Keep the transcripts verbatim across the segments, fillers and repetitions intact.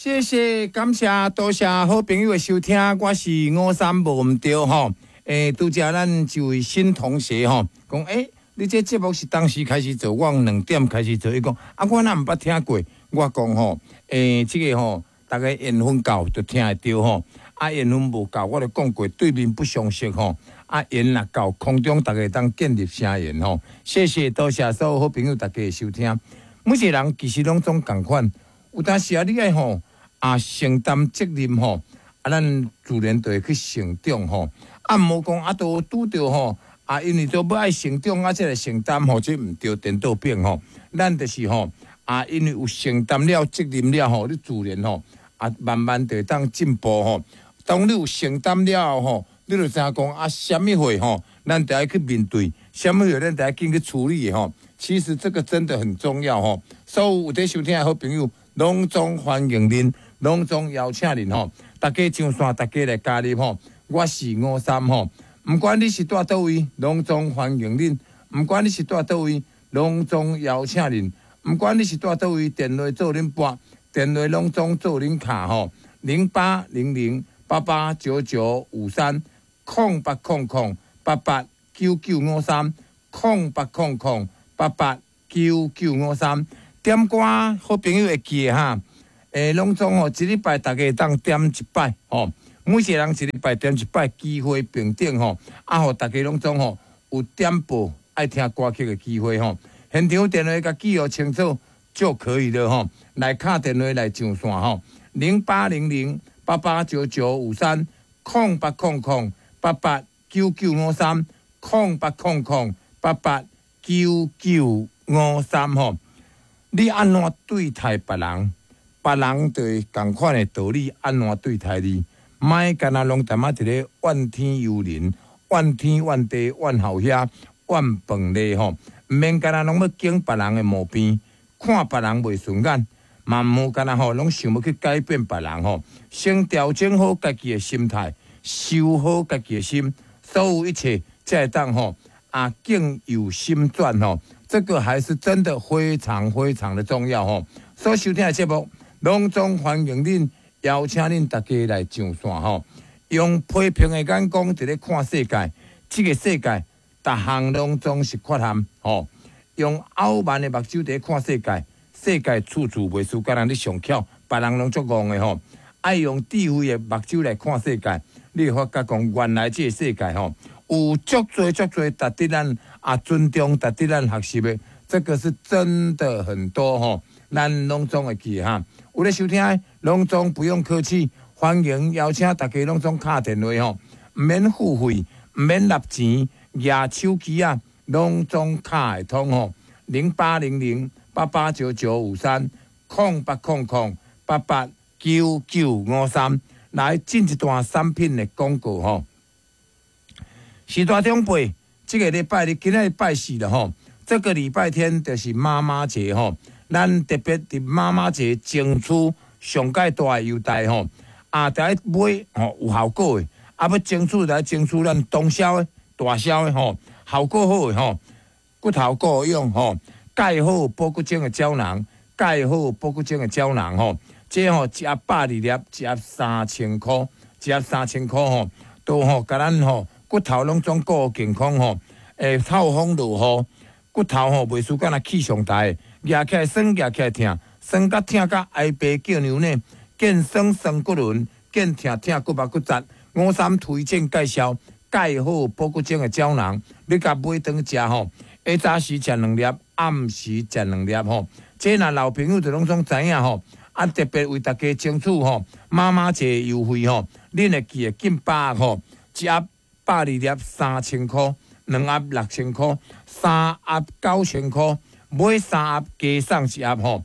謝謝，感謝，多謝好朋友的收聽，我是五三無毋著吼。欸，拄才咱一位新同學吼，講欸，你這節目是當時開始做，我兩點開始做，伊講啊，我哪毋捌聽過？我講吼，欸，這個吼，逐家緣分夠就聽會著吼，啊，緣分無夠，我就講過對面不相識吼，啊，緣若夠，空中逐家當建立聲緣吼。謝謝，多謝所有好朋友大家的收聽。每一個人其實攏總仝款，有當時啊，你愛吼。啊，承擔責任吼，啊，咱自然就會去成長吼。啊，毋好講啊，都拄著吼，啊，因為都欲愛成長啊，才來承擔吼，這毋對，顛倒變吼。咱就是吼，啊，因為有承擔了責任了吼，你自然吼，啊，慢慢就會當進步吼。當你有承擔了後吼，你就知影講啊，啥物貨吼，咱就愛去面對，啥物貨咱就愛緊去處理的吼。其實這個真的很重要吼。所有有佇收聽的好朋友，攏總歡迎恁。攏總邀請恁吼，大家上線，大家來加入吼。我是五三吼，毋管你是蹛佗位，攏總歡迎恁。毋管你是蹛佗位，攏總邀請恁。毋管你是蹛佗位，電話做恁撥，電話攏總做恁敲吼。零八零零八八九九五三，空八空空八八九九五三，空八空空八八九九五三。點歌好朋友會記得哈。欸，攏總吼，一禮拜逐家會當點一擺吼，每一個人一禮拜點一擺，機會平等吼，啊，予逐家攏總吼有點播愛聽歌曲的機會吼。現場電話共記號清楚就可以了吼。來敲電話來上線吼，零八零零八八九九五三，空八空空八八九九五三，空八空空八八九九五三吼。你按怎對待別人？別人就會仝款的道理，按怎對待你？莫干焦攏踮仔佇咧怨天尤人、怨天怨地、怨後遐、怨飯咧吼！毋免干焦攏欲揀別人的毛病，看別人袂順眼，嘛毋好干焦吼，攏想欲去改變別人吼。先調整好家己的心態，修好家己的心，所有一切才會當吼啊境由心轉吼。這個還是真的非常非常的重要吼。所收聽的節目，攏總歡迎恁，邀請恁大家來上線吼，用批評的眼光佇咧看世界，這個世界逐項攏總是缺陷吼。用傲慢的目睭佇咧看世界，世界處處袂輸，敢若你上巧，別人攏足戇的吼。愛用智慧的目睭來看世界，你會發覺講原來這個世界吼，有足濟足濟值得咱啊尊重、值得咱學習的，這個是真的很多吼。咱攏總會記哈。有咧收聽，攏總不用客氣，歡迎邀請大家攏總敲電話吼，毋免付費，毋免納錢，舉手機啊，攏總敲會通吼。零八零零八八九九五三，空八空空八八九九五三，來進一段產品的廣告吼。時大長輩，這個禮拜日今仔日拜四了吼，這個禮拜天就是媽媽節吼。咱特別佇媽媽節爭取上蓋大的優待吼，啊，著愛買吼有效果的，啊，欲爭取來爭取咱當銷的、大銷的吼，效果好的吼，骨頭夠用吼，鈣好保骨精的膠囊，鈣好保骨精的膠囊吼，這吼一盒百二粒，一盒三千箍，一盒三千箍吼，都吼共咱吼骨頭攏總顧健康吼，會透風落雨，骨頭吼袂輸干焦氣上台。舉起來酸，舉起來疼，酸甲疼甲哀爸叫娘呢，見酸酸骨輪，見疼疼骨目骨節。五三推薦介紹鈣好保骨精的膠囊，你共買轉食吼，下早時食兩粒，暗時食兩粒吼。這若老朋友就攏總知影吼，啊特別為大家爭取吼，媽媽節優惠吼，恁會記得進百吼，一盒百二粒三千箍，兩盒六千箍，三盒九千箍。買三盒加送一盒吼，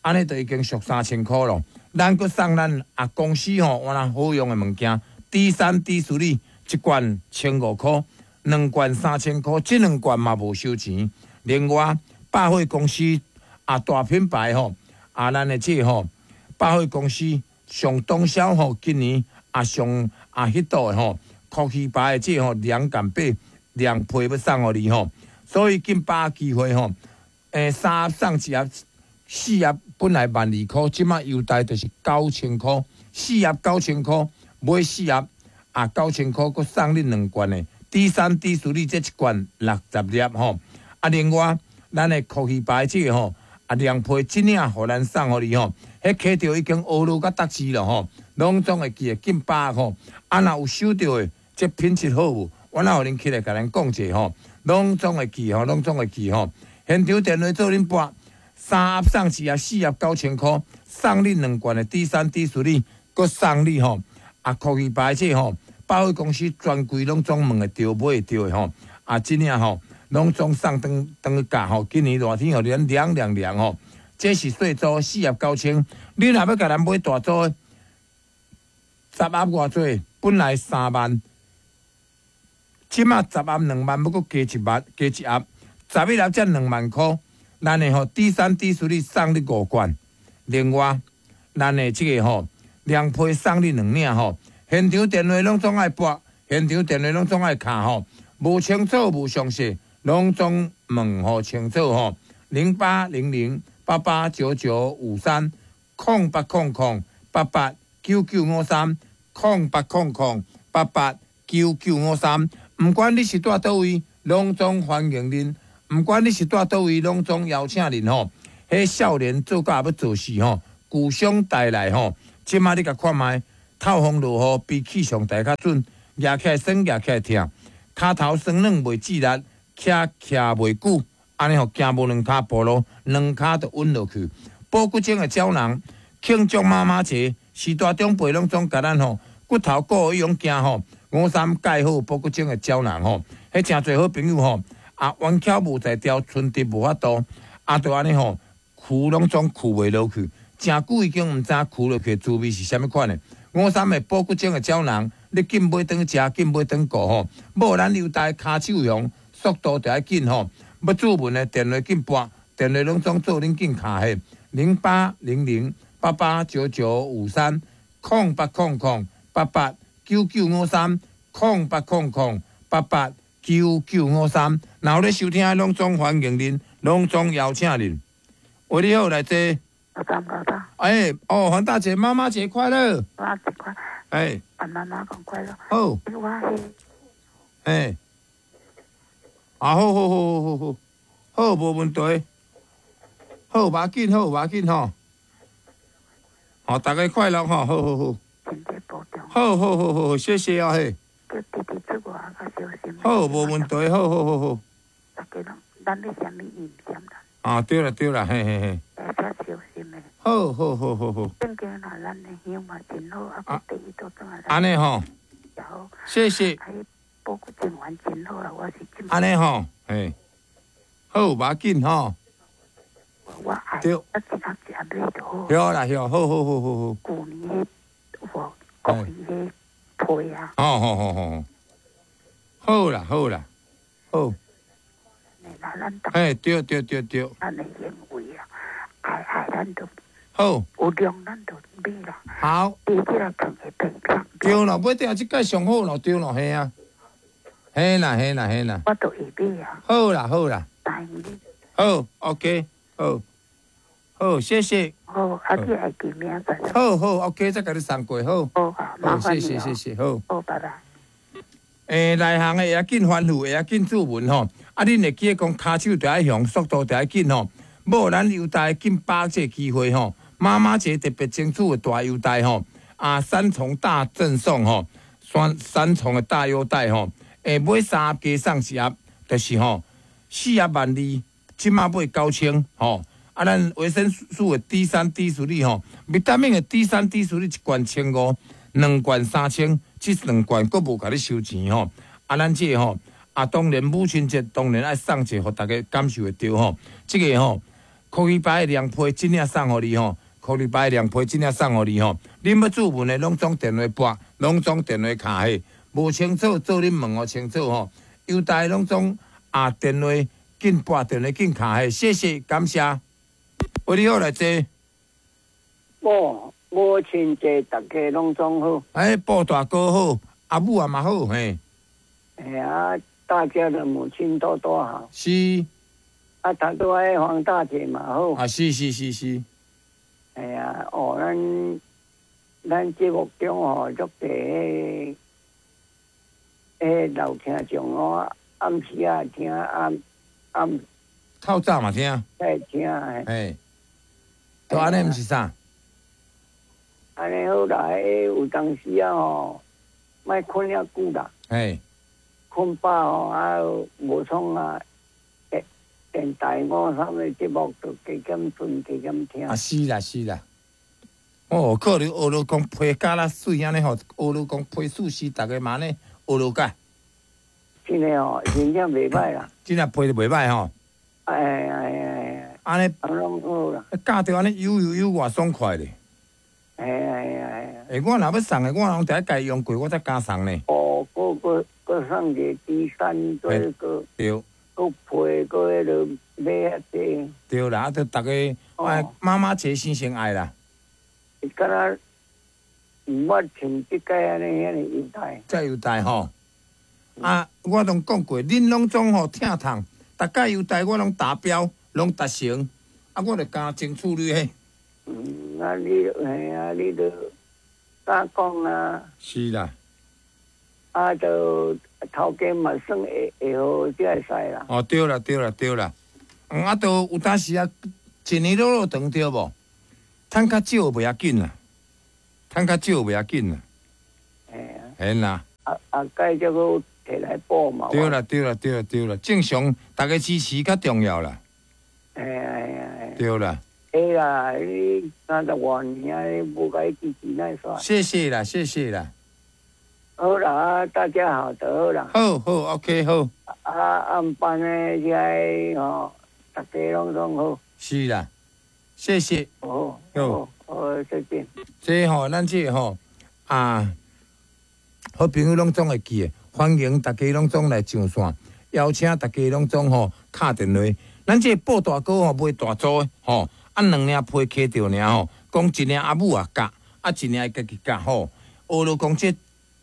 按呢就已經俗三千箍咯。咱閣送咱啊公司吼，原來好用的物件，D 三 D 處理一罐千五箍，兩罐三千箍，這兩罐嘛無收錢。另外，百貨公司啊大品牌吼，啊咱的這吼百貨公司上當銷吼，今年啊上啊彼度的吼，酷奇牌的這吼涼感被涼被欲送予你吼，所以緊把握機會吼。欸，三盒送一盒，四盒本來萬二箍，這馬優待就是九千箍，四盒九千箍，買四盒啊九千箍，閣送你兩罐的 D 三 D 四這一罐六十粒吼。啊，另外咱的酷魚牌這個吼，啊涼皮這領予咱送予你吼，彼溪著已經烏落甲達字了吼，攏總會記得緊把握吼。啊，若有收著的，這品質好無？我若予恁起來共咱講者吼，攏總會記吼，攏總會記吼。現場電話做恁撥，三盒送一盒，四盒九千箍，送你兩罐的 D 三 D 四哩，閣送你吼。啊，酷魚牌這吼，百貨公司專櫃攏總問會著買會著的吼。啊，這領吼，攏總送轉轉去教吼。今年熱天予咱涼涼涼吼。這是細組四盒九千，你若欲共咱買大組，十盒偌濟？本來三萬，這馬十盒兩萬，欲閣加一萬，加一盒，十一盒才兩萬箍。咱的吼 D 三 D 四哩送你五罐，另外咱的這個吼涼皮送你兩領吼。現場電話攏總愛撥，現場電話攏總愛敲吼。無清楚無詳細，攏總問予清楚吼。零八零零八八九九五三，空八空空八八九九五三，空八空空八八九九五三。毋管你是蹛佗位，攏總歡迎恁。毋管你是蹛佗位，攏總邀請恁吼。彼少年做甲欲做事吼，具象帶來吼。這馬你共看覓，透風落雨比氣象台較準，夯起來酸，夯起來疼，跤頭酸軟袂誌力，徛徛袂久，按呢吼行無兩跤步路，兩跤就穩落去。補骨精的膠囊，慶祝媽媽節，序大長輩攏總共咱吼骨頭骨伊用行吼。五三蓋好補骨精的膠囊吼，彼誠濟好朋友吼，啊彎翹無在調，伸直無法度，啊就按呢吼，跍攏總跍袂落去，誠久已經毋知跍落去的滋味是啥物款的。五三的補骨精的膠囊，你緊買轉食，緊買轉顧吼，無咱優待跤手雄，速度就愛緊吼。欲注文的電話緊撥，電話攏總做恁緊敲彼零八零零八八九九五三，空八空空八八九九五三，空八空空八八九九五三。若有咧收聽，攏總歡迎恁，攏總邀請恁。喂，你好，來坐。老大，老大。哎，哦，黃大姐，媽媽節快樂。媽媽節快樂。哎。啊，媽媽講快樂。好。我是。哎。啊，好好好好好好，好，無問題。好，無要緊，好，無要緊吼。好，大家快樂吼，好好好。好好好好，謝謝啊嘿。叫弟弟出外較小心。好，無問題，好好好好。大家攏，咱欲啥物伊毋啥啦。啊，對啦對啦，嘿嘿嘿。較小心的。好好好好好。正經啦，咱的香嘛真好，啊，第一都轉來。按呢吼。好。謝謝。啊，補骨精丸真好啦，我是這。按呢吼，嘿。好，無要緊吼。我愛。對。啊，一盒一盒買就好。對啦，對，好好好好好。舊年彼有無國語彼批啊？好好好好。好啦好啦，好。哎，對對對對。咱的行為啊，愛愛咱就好。有量咱就買啦。好。你這個放會變變。對啦，買這這蓋上好咯，對咯，係啊。嘿啦嘿啦嘿啦。我都會買啊。好啦好啦。答應你。好，OK，好，好，謝謝。好，啊，你會記明仔載。好好，OK，再共你送過，好。好，好，麻煩你。謝謝謝謝，好。好，拜拜。欸，內行的會較緊吩咐，會較緊注文吼。啊，恁會記得講，跤手著愛雄，速度著愛緊吼。無咱優待緊把握這個機會吼。媽媽節特別爭取的大優待吼。啊，三重大贈送吼，三三重的大優待吼。欸，買三盒加送一盒，就是吼四盒萬二，這馬買九千吼。啊，咱維生素的 D 三 D 四吼，維他命的 D 三 D 四一罐千五，兩罐三千，這兩罐閣無共你收錢吼。啊，咱這個吼，啊，當然母親節當然愛送一個，予大家感受會著吼。這個吼，酷魚牌的涼皮這領送予你吼，酷魚牌的涼皮這領送予你吼。恁欲注文的攏總電話撥，攏總電話敲彼，無清楚做恁問予清楚吼。優待攏總啊電話緊撥，電話緊敲彼，謝謝感謝。喂，你好，來坐。母母親節，大家攏總好。哎，布大哥好，阿母也嘛好，嘿。哎啊，大家的母親都都好。是。啊，頭拄仔黃大姐嘛好。啊，是是是是。哎呀，哦，咱咱節目中吼，足濟彼老聽眾哦，暗時啊聽，暗暗透早嘛聽。在聽。嘿，都按呢毋是啥？按呢好啦，彼有當時啊吼，莫睏遐久啦。嘿。睏飽吼，啊無創啊，電電台五三的節目就加減順加減聽。啊是啦是啦。哦，可能學落講皮甲啦媠按呢吼，學落講皮素絲，逐个嘛按呢學落甲。真的哦，真正袂䆀啦。真正皮就袂䆀吼。哎哎哎。按呢。攏好啦。教著按呢悠悠悠偌爽快咧。哎哎哎。欸，我若欲送的，我攏得共伊用過，我才敢送呢。哦，閣閣閣送一个 D 三，做閣對。閣皮閣彼落買遐濟。對啦，啊，著逐个，哎，媽媽節先先愛啦。敢若毋捌像這擺按呢遐爾優待。遮優待吼！啊，我攏講過，恁攏總吼疼痛，逐擺優待我攏達標，攏達成，啊，我就加爭處理彼。嗯，啊你，嘿啊，你著敢講啊。是啦。啊，著頭家嘛算會會好才會使啦。哦，對啦，對啦，對啦。嗯，啊，著有當時啊，一年落落長對無？趁較少袂要緊啦，趁較少袂要緊啦。嘿啊。嘿啦。啊啊，改這個提來補嘛。對啦，對啦，對啦，對啦，正常，逐家支持較重要啦。嘿啊嘿啊嘿。對啦。會啦，你三十外年啊，你無共伊支持哪會煞？謝謝啦，謝謝啦。好啦，大家好就好啦。好好，OK 好。啊，暗班的遮個吼，逐家攏總好。是啦，謝謝。好，好，好，再見。這吼，咱這吼啊，好朋友攏總會記得，歡迎大家攏總來上線，邀請大家攏總吼敲電話。咱這個報大哥吼賣大組的吼，啊兩領皮揢著爾吼，講一領阿母也教，啊一領伊家己教吼。學落講這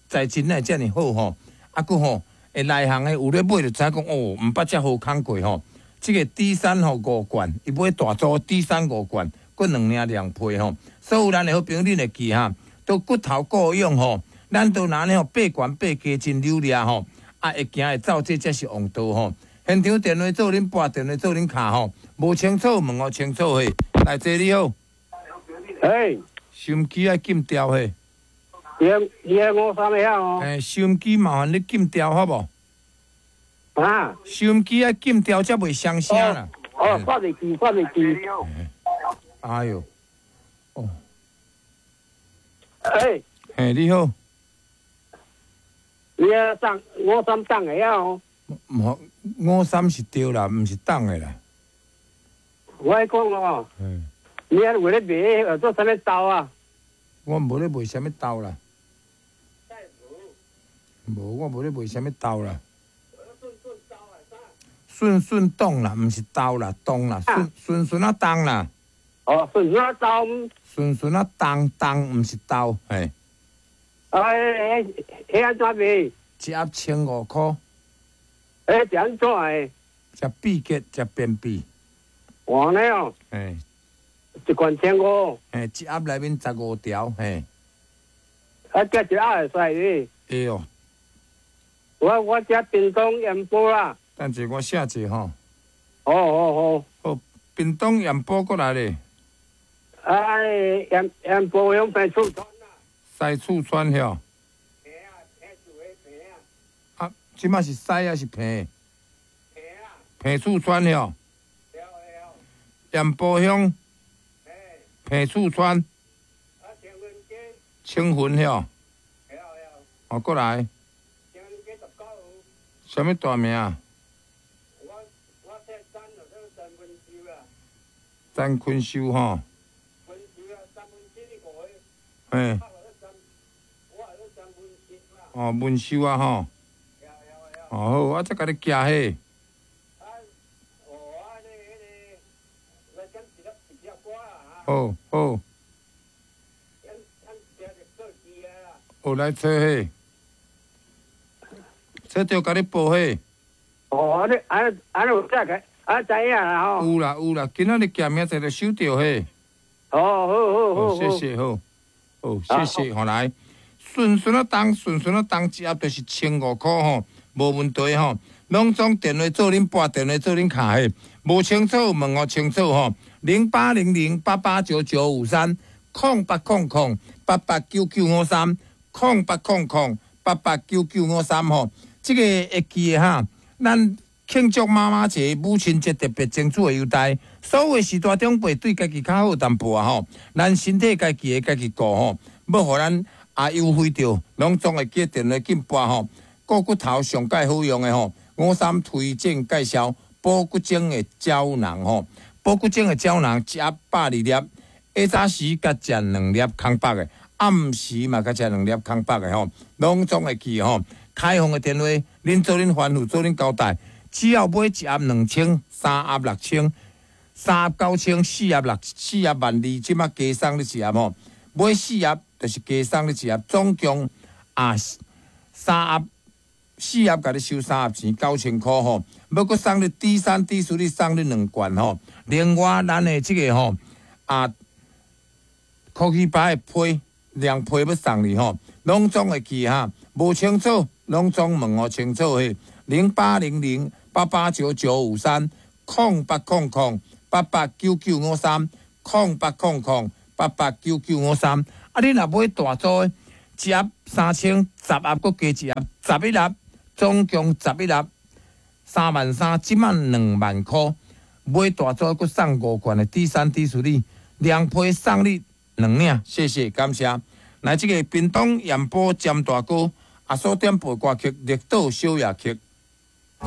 材質哪會遮爾好吼，啊閣吼會內行的有咧買就知影講哦，毋捌遮好空過吼。這個 D 三吼五罐，伊買大組 D 三五罐，閣兩領涼皮吼。所有咱的好朋友，恁會記哈？都骨頭顧養吼，咱都若按呢吼爬懸爬低真溜掠吼，啊會行會走，這才是王道吼。現場電話做恁撥，電話做恁敲吼，無清楚問予清楚嘿。來，這你好。哎，收音機愛禁掉嘿。你你五三的哦。欸，收音機麻煩你禁掉好無？啊！收音機愛禁掉，才袂傷聲啦。哦，發袂記，發袂記。哎喲，哦。哎。嘿，你好。你啊，送五三檔的哦。毋，五三是對啦，毋是檔的啦。我愛講哦。嗯。你啊，為咧賣做啥物豆啊？我無咧賣啥物豆啦。無，我無咧賣啥物豆啦。順順動啦，毋是豆啦，動啦，順順順啊動啦。哦，順順啊動。順順啊動動，毋是豆，嘿。啊，彼彼按怎賣？一盒千五箍。欸，是按怎的？食秘結，食便秘。按呢哦。嘿。一罐千五。嘿，一盒內面十五條，嘿。啊，這一盒會使哩？會哦。我我遮屏東鹽埔啦。等者我寫者吼。哦哦哦。好，屏東鹽埔過來咧。啊，鹽鹽埔鄉平厝村啦。西厝村遐。平啊，平厝的平啊。啊，這擺是西還是平？平啊。平厝村遐。對對。鹽埔鄉。平厝村。啊，青雲街。青雲遐。對對。哦，過來。青雲街十九號。啥物大名？我我姓陳，就叫陳文秀啦。陳坤秀吼。文秀啊，三分之一五個。嘿。哦，文秀啊吼。哦好，我再共你寄彼。啊，哦，啊，你彼个來點一粒一隻歌啊。好好。哦，來揣彼，揣著共你報彼。哦，按呢按呢按呢有這個，啊，知影啦吼。有啦有啦，今仔日寄明仔載就收著嘿。哦，好好好。好，謝謝好，好，謝謝，吼來，順順仔重，順順仔重，一盒就是千五箍吼，無問題吼。攏總電話做恁撥，電話做恁敲嘿，無清楚問予清楚吼。零八零零八八九九五三，空八空空八八九九五三，空八空空八八九九五三吼。這個會記的哈，咱慶祝媽媽節、母親節特別爭取的優待，所有序大長輩對家己較好淡薄仔吼，咱身體家己的家己顧吼，欲予咱啊優惠著，攏總會記電話緊撥吼。顧骨頭上蓋好用的吼，五三推薦介紹補骨精的膠囊吼，補骨精的膠囊一盒百二粒，下早時閣食兩粒空腹的，暗時嘛閣食兩粒空腹的吼，攏總會記吼。開放的電話，恁做恁吩咐，做恁交代，只要買一盒兩千，三盒六千，三盒九千，四盒六四盒萬二，這馬加送你一盒吼。買四盒就是加送你一盒，總共啊三盒四盒，共你收三盒錢九千箍吼。欲閣送你 D 三 D 四，你送你兩罐吼。另外，咱的這個吼啊，科技牌的批兩批欲送你吼，攏總會記哈，無清楚。攏總問予清楚嘿，零八零零八八九九五三，空八空空八八九九五三，空八空空八八九九五三。啊，你若買大組的，一盒三千，十盒閣加一盒，十一粒，總共十一粒，三萬三，這馬兩萬箍。買大組閣送五罐的 D 三 D 四你，兩批送你兩領，謝謝感謝。來，這個屏東鹽埔詹大哥。阿所點播歌曲《綠島小夜曲》。